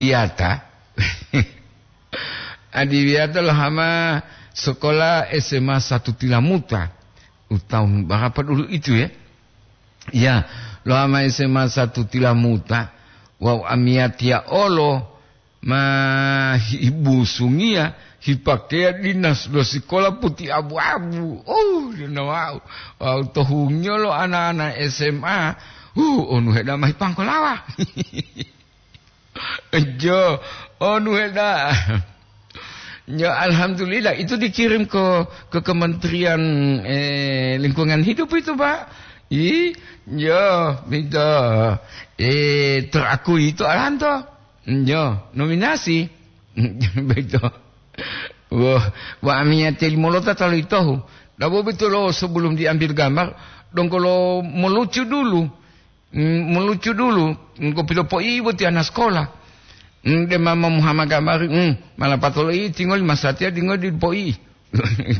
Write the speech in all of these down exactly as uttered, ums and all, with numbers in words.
Adiwiyata. Adiwiyata lohama sekolah S M A satu Tilamuta. Utahun berapa dulu itu ya? Ya, lohama S M A satu Tilamuta. Wawu amiyatiya olo ma hibusungiya hipakeya dinas lo sikola puti abu-abu. Oh, dina wau. Wau to hungiyo lo ana-ana S M A. Uh, onu heda mahi pangkolawa. Jo, onu heda. Jo, alhamdulillah, itu dikirim ke, ke Kementerian, eh, Lingkungan Hidup itu, Pak. I, jo, itu. Eh, terakui itu alanto. Jo, nominasi. Begitu. Wah, wa amiyate limolota talo itohu. Dabo betulo sebelum diambil gambar, donggo lo melucu dulu. Mm, melucu dulu, engko pilopo'i boti ana sekolah. Mm, de mama Muhammad gambar, mm, mala patolo i tingoli masatiya dingoli dipo'i.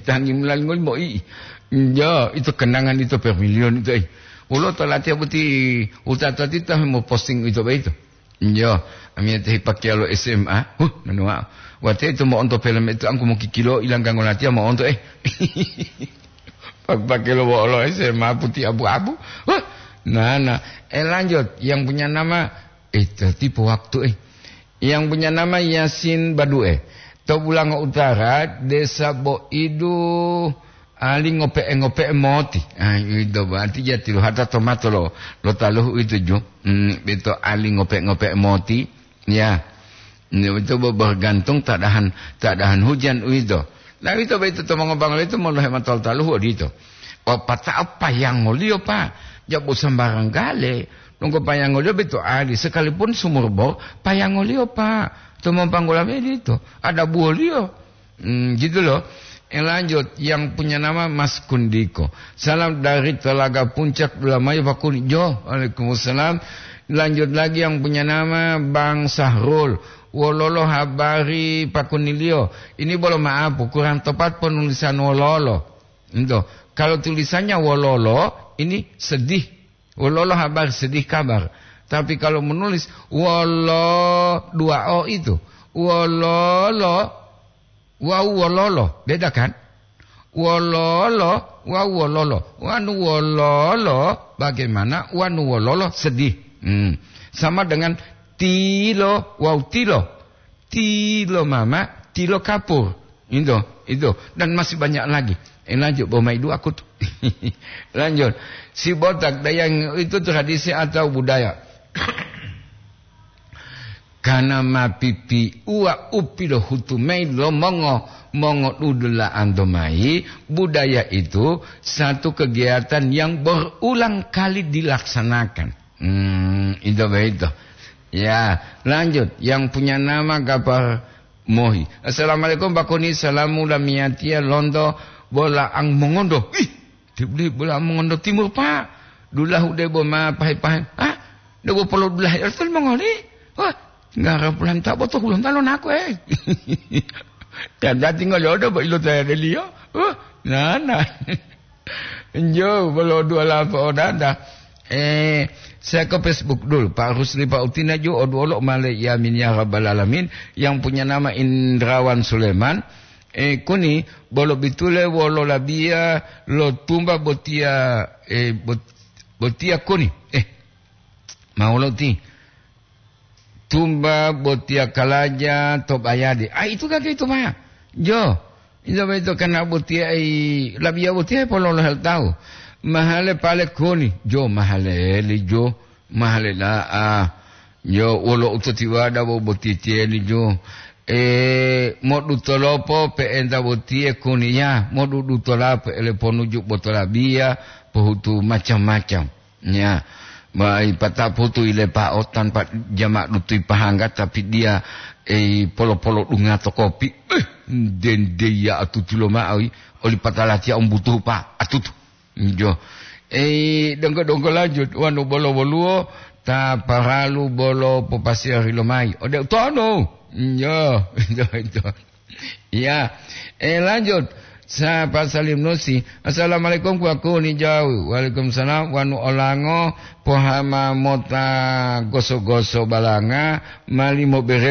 Tangi mulali ngoli mo'i. Jo, itu kenangan itu per milion itu, eh. Ulo to latiya boti utata tita mo posting itu baito. Jo, amiyate hipakiya lo S M A. Huh, manuwa. Wate itu mo'onto film itu angku mokikilo ilangga ngolatiya mo'onto, eh. Pak-, pakai lo wo'olo S M A putih abu-abu. Wah, nana. Eh, lanjut. Yang punya nama, eh, tertipu waktu, eh. Yang punya nama Yasin Badue. To Bulango Utara, Desa Boidu, ali ngope'e-ngope'e moti. Ah, itu berarti jati lo hata tomato lo, lo taluhu itu ju. Hmm, itu ali ngope'e-ngope'e moti. Ya. Ini itu be-, bergantung tak dahan, tak dahan hujan uwito. Nah, uwito boyito to mongobanglo itu molohe matol taluhu odito. O pata'o payangoliyo, Pak. Jabo sambarang gale. Nunggu payangoliyo beto ali. Sekalipun sumur bor, payangoliyo, Pak. To mompanggola medito. Ada buwoliyo. Hmm, gitu loh. Eh, lanjut, yang punya nama Mas Kundiko. Salam dari Telaga Puncak, Dulamayo, Pak Kuni. Jo, waalaikumsalam. Lanjut lagi yang punya nama Bang Sahrul. Wololo habari Pak Kunilio? Ini bolo maaf, kurang tepat penulisan wololo. Itu. Kalau tulisannya wololo, ini sedih. Wololo habar, sedih kabar. Tapi kalau menulis wolo, dua O itu. Wololo, wawu wololo. Beda kan? Wololo, wawu wololo. Wanu wololo, bagaimana? Wanu wololo, sedih. Hmm. Sama dengan tilo, wawu tilo. Tilo mama, tilo kapur. Itu, itu. Dan masih banyak lagi. Eh, lanjut, bawa mai dua aku tuh. Lanjut. Si botak dayang itu tradisi atau budaya? Karena mapipi uwa upi lo hutu mai lo mongo, mongo dudula'anto mai, budaya itu satu kegiatan yang berulang kali dilaksanakan. Hmm, itu begitu. Ya, lanjut. Yang punya nama Gapar Mohi. Assalamualaikum, Pak Kuni. Salamu lamiyatiya lonto Bolaang Mongondo. Ih, tibli Bolaang Mongondo Timur, Pak. Dulahu debo ma pahe-pahe. Ah, debo polo dulah ertel mongoli. Wah, nggak ada pulang tak botoh pulang talon aku, eh. Kada tinggal ya udah, Pak, ilo tanya deliyo. Wah, nana. Njo, bolo dua lapo odada. Eh, saya ke Facebook dulu. Pak Rusli, Pak Utina ju, oduolo male yamin ya rabbal alamin. Yang punya nama Indrawan Suleman. Eh, kuni, bolo bitule wolo labiya lo tumba botiya, eh, bot-, botiya kuni. Eh, mau lo ti. Tumba botiya kalaja to bayade. Ah, itu kake itu maya. Jo. Ito boyito kana botiya ai, labiya botiya pololohe lo tawu. Mahale pale koni, jo mahale li jo, mahale da'a. Jo wolo utotiwada bo botitiyeli jo. E, modu tolopo pe'enta botiye koni ya, modu dutolapo ele ponuju botolabiya, pohutu macam-macam. Ya, ma ipataputu ilepa'o tanpa jama dutu ipahangga, tapi dia, eh, polo-polo dunga to kopi. Eh, dende ya atutu loma'o i, oli patalatiya umbutuhu pa atutu. Jo. Eh, donggo-donggo lanjut, wanu bolo woluwo, ta paralu bolo popasiyari lomayi. Ode utono. Jo, jo, jo. Iya. Eh, lanjut. Sapa Salim Nusi. Assalamualaikum, kuwaku ni jauh. Waalaikumsalam. Wanu olango, pohama mota goso-goso balanga, mali mobere